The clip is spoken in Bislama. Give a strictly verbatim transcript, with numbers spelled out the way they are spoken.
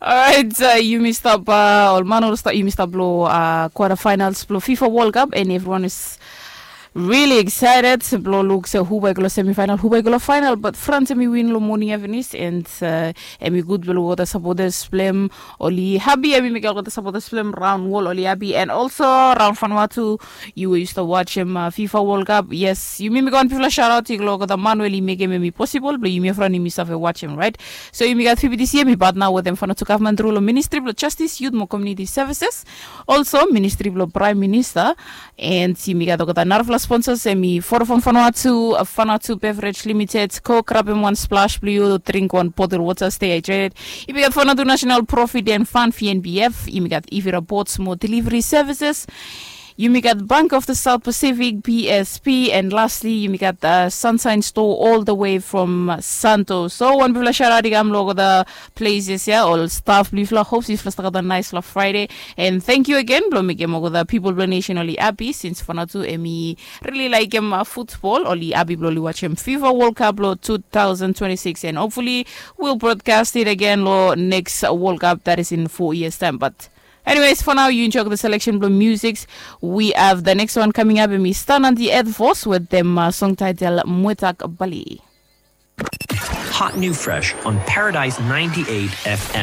Alright, uh, yumi stap uh, ol man ol stap yumi stap lo uh, quarter finals blo fifa world cup and everyone is really excited blo luk se hu bai go lo semifinal, hu bai go lo final, but france emi win lo morning evenis and uh, emi gud blo luk ota supporters blem oli happy, emi mekim ota supporters blem round wall oli happy and also round fanua tu. Yu we yu stap watch em uh, fifa world cup, yes, yumi mekim wan bifala shout out i go lo ota man we oli mekim emi possible blo yumi efran yumi save watch em, right? So yumi gat fifty this year mi partner with em fanatu government rule ministry blo justice, youth mo community services, also ministry blo prime minister. And yumi gat olgeta narafala sponsors emi vodafone fanatu, fanatu beverage limited, coke, grab em one splash blo yu, drink one bottle water, stay hydrated. Yumi gat fanatu national profit and fund vnbf, yumi gat ivira boats mo delivery services. Yumi gat Bank of the South Pacific, B S P, and lastly, yumi gat uh, Sunshine Store all the way from uh, Santo. So, wan bifala shout out i kam lo the places ya, ol staff bifala, hopes bifala start gat a nice la Friday. And thank you again blo mekim ol the people blo nation oli happy since fanatu emi really like em uh, football, oli happy blo oli watch em fifa world cup lo two thousand twenty-six and hopefully we'll broadcast it again lo next world cup that is in four years time. But anyways, for now, you enjoy the selection blo musics. We have the next one coming up, and we stand on the Earth Force with them uh, song title Mwetak Bali. Hot new fresh on Paradise ninety-eight F M.